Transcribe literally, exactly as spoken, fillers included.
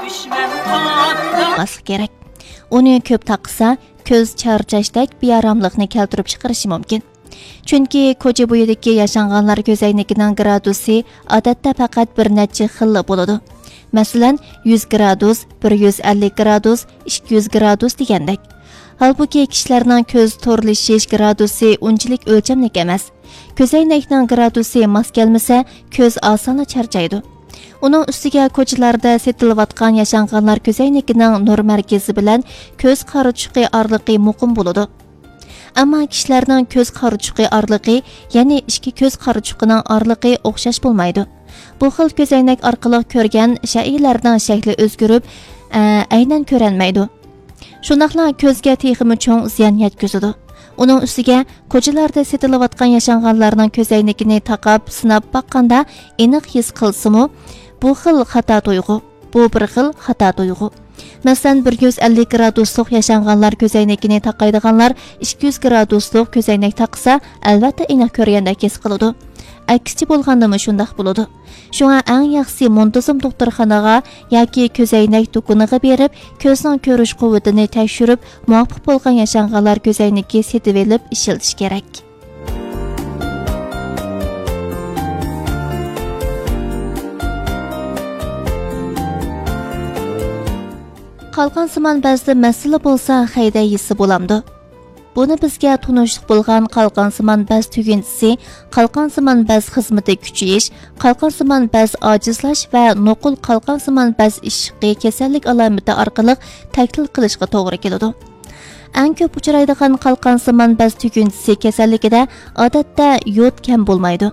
بولماسلىق كېرەك. ئۇنى كۆپ تاقىسا، كۆز چارچاشتەك بىئاراملىقنى كەلتۈرۈپ چىقىرىشى مۇمكىن. چۈنكى كوچا بويىدىكى ياشانغانلار كۆزەينىكىنىڭ گرادۇسى ئادەتتە پەقەت بىر نەچچە خىللا بولىدۇ. مەسىلەن، يۈز گرادۇس، بىر يۈز ئەللىك گرادۇس، ئىككى يۈز گرادۇس دېگەندەك. ھالبۇكى، كىشىلەرنىڭ كۆز تورلىشىش گرادۇسى ئۇنچىلىك ئۆلچەملىك ئەمەس. كۆزەينەكنىڭ گرادۇسى ماس كەلمىسە، كۆز ئاسانلا چارچايدۇ. ئۇنىڭ ئۈستىگە كوچىلاردا سېتىلىۋاتقان ياشانغانلار كۆزەينىكىنىڭ نۇر مەركىزى بىلەن كۆز قارىچۇقى ئارىلىقى مۇقىم بولىدۇ. ئەمما كىشىلەرنىڭ كۆز قارىچۇقى ئارىلىقى، يەنى ئىككى كۆز قارىچۇقىنىڭ ئارىلىقى ئوخشاش بولمايدۇ. بۇ خىل كۆزەينەك ئارقىلىق كۆرگەن شەيئىلەرنىڭ شەكلى ئۆزگىرىپ، ئە، ئەينەن كۆرەلمەيدۇ. شۇنداقلا كۆزگە تېخىمۇ چوڭ زىيان يەتكۈزىدۇ. ئۇنىڭ ئۈستىگە، كوچىلاردا سېتىلىۋاتقان ياشانغانلارنىڭ كۆزەينىكىنى تاقاپ، سىناپ باققاندا ئېنىق ھېس قىلسىمۇ، بۇ خىل خاتا تۇيغۇ. بۇ بىر خىل خاتا تۇيغۇ. مەسىلەن، بىر يۈز ئەللىك گرادۇسلۇق ياشانغانلار كۆزەينىكىنى تاقايدىغانلار ئىككى يۈز گرادۇسلۇق كۆزەينەك تاقىسا، ئەلۋەتتە ئېنىق كۆرگەندەك ھېس قىلىدۇ. ئەكسىچە بولغاندىمۇ شۇنداق بولىدۇ. شۇڭا ئەڭ ياخشىسى مۇنتىزىم دوختۇرخانىغا ياكى كۆزەينەك دۇكىنىغا بېرىپ، كۆزنىڭ كۆرۈش قۇۋۋىتىنى تەكشۈرۈپ، مۇۋاپىق بولغان ياشانغانلار كۆزەينىكى سېتىۋېلىپ ئىشلىتىش كېرەك. قالقانسىمان بەزدە مەسىلە بولسا، خەيدە يېسە بولامدۇ؟ بۇنى بىزگە تونۇشلۇق بولغان قالقانسىمان بەز تۈگۈنچىسى، قالقانسىمان بەز خىزمىتى كۈچىيىش، قالقانسىمان بەز ئاجىزلاش ۋە نوقۇل قالقانسىمان بەز ئىششىقى كېسەللىك ئالامىتى ئارقىلىق تەھلىل قىلىشقا توغرا كېلىدۇ. ئەڭ كۆپ ئۇچرايدىغان قالقانسىمان بەز تۈگۈنچىسى كېسەللىكىدە، ئادەتتە، يود كەم بولمايدۇ.